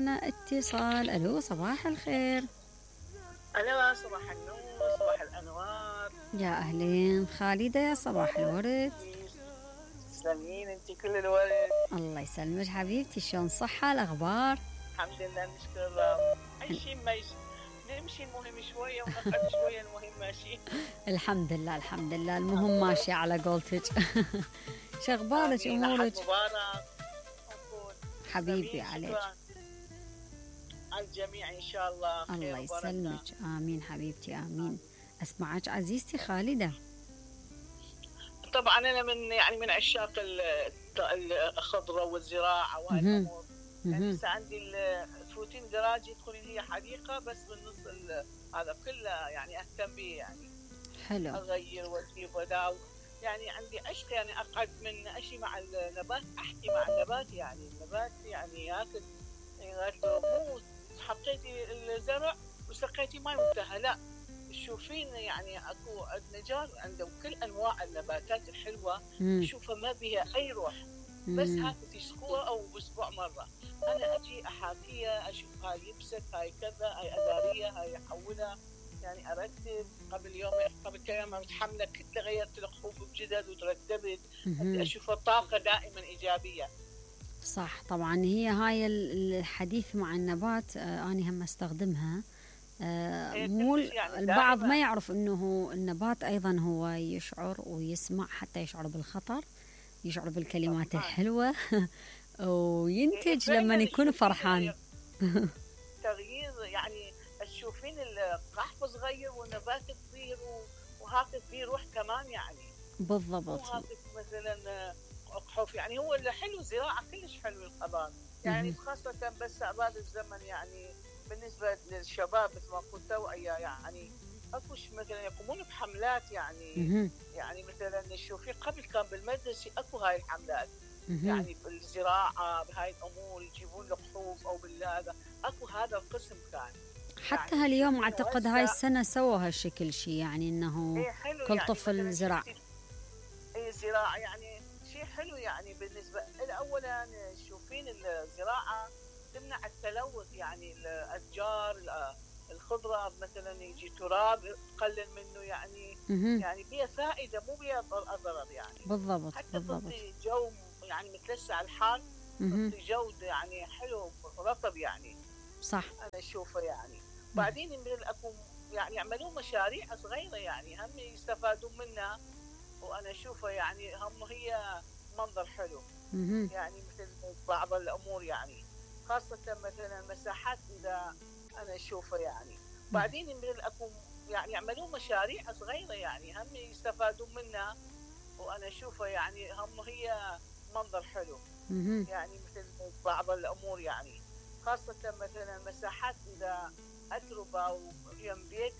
معنا اتصال. الو صباح الخير. الو صباح النور، صباح الانوار. يا اهلين خالدة، يا صباح الورد. تسلمين انتي كل الورد. الله يسلمك حبيبتي، شلون صحة الاخبار؟ الحمد لله نشكر الله. اي شيء نمشي المهم شويه ونقعد شويه المهم ماشي. الحمد لله الحمد لله، المهم ماشي على قولتك. شغبارك امورك؟ مبارك حبيبي عليك. على الجميع ان شاء الله خير. الله يسلمك، امين حبيبتي امين. اسمعك عزيزتي خالدة. طبعا انا من عشاق الخضره والزراعه وهاي الامور. يعني هسه عندي تفوتين دراج يدخلين هي حديقه بس بالنص هذا كله يعني اهتم به يعني. حلو. اغير واجيب وداو. يعني عندي عشق يعني اقعد من اشي مع النبات، احكي مع النبات يعني النبات يعني ياكل يعني مو حطيتي الزرع وسقيتي ماي وانتهى، لا تشوفين يعني اكو نجار عندهم كل انواع النباتات الحلوه. تشوفها ما بها اي روح، بس هاي تسقوها او باسبوع مره. انا اجي احاكيها، اشوف هاي يبست، هاي كذا، هاي اداريه، هاي احولها، يعني ارتب. قبل كم يوم متحمله كنت غيرت الخوف بجدد وترتبت. اشوف الطاقه دائما ايجابيه. صح طبعا، هي هاي الحديث مع النبات أنا هم استخدمها. مو يعني البعض ما يعرف انه النبات ايضا هو يشعر ويسمع، حتى يشعر بالخطر، يشعر بالكلمات الحلوة. وينتج لما يكون فرحان. تغيير يعني تشوفين القحف صغير والنبات كبير وهاك فيه روح كمان يعني. بالضبط. وهاك مثلا قحف يعني هو اللي حلو. زراعة كلش حلو الخضار يعني، خاصة بس بعد الزمن يعني بالنسبة للشباب مثل ما قلت توعية يعني. اكوش مثلا يقومون بحملات يعني. يعني مثلا تشوفي قبل كان بالمدرسة اكو هاي الحملات يعني بالزراعة بهاي الامور، يجيبون القحوف او بالهذا اكو هذا القسم كان. حتى يعني هاليوم اعتقد هاي السنة سووا هالشكل شيء يعني انه كل يعني طفل زرع. زراعة يعني شيء حلو يعني. بالنسبة اولا تشوفين الزراعة تمنع التلوث يعني. الاشجار الخضره مثلا يجي تراب تقلل منه يعني. يعني بيها فائده مو بيها ضرر يعني. بالضبط حتى بالضبط. تعطي جو يعني متلسع الحال، تعطي جو يعني حلو رطب يعني. صح انا اشوفه يعني. بعدين اكو يعني يعملون مشاريع صغيره يعني هم يستفادون منها. وانا اشوفه يعني هم هي منظر حلو يعني مثل بعض الامور يعني، خاصة مثلا مساحات إذا أنا أشوفه يعني. بعدين أكو يعني يعملون مشاريع صغيرة يعني هم يستفادون منها. وأنا أشوفه يعني هم هي منظر حلو يعني مثل بعض الأمور يعني، خاصة مثلا مساحات إذا أتربة ويم بيت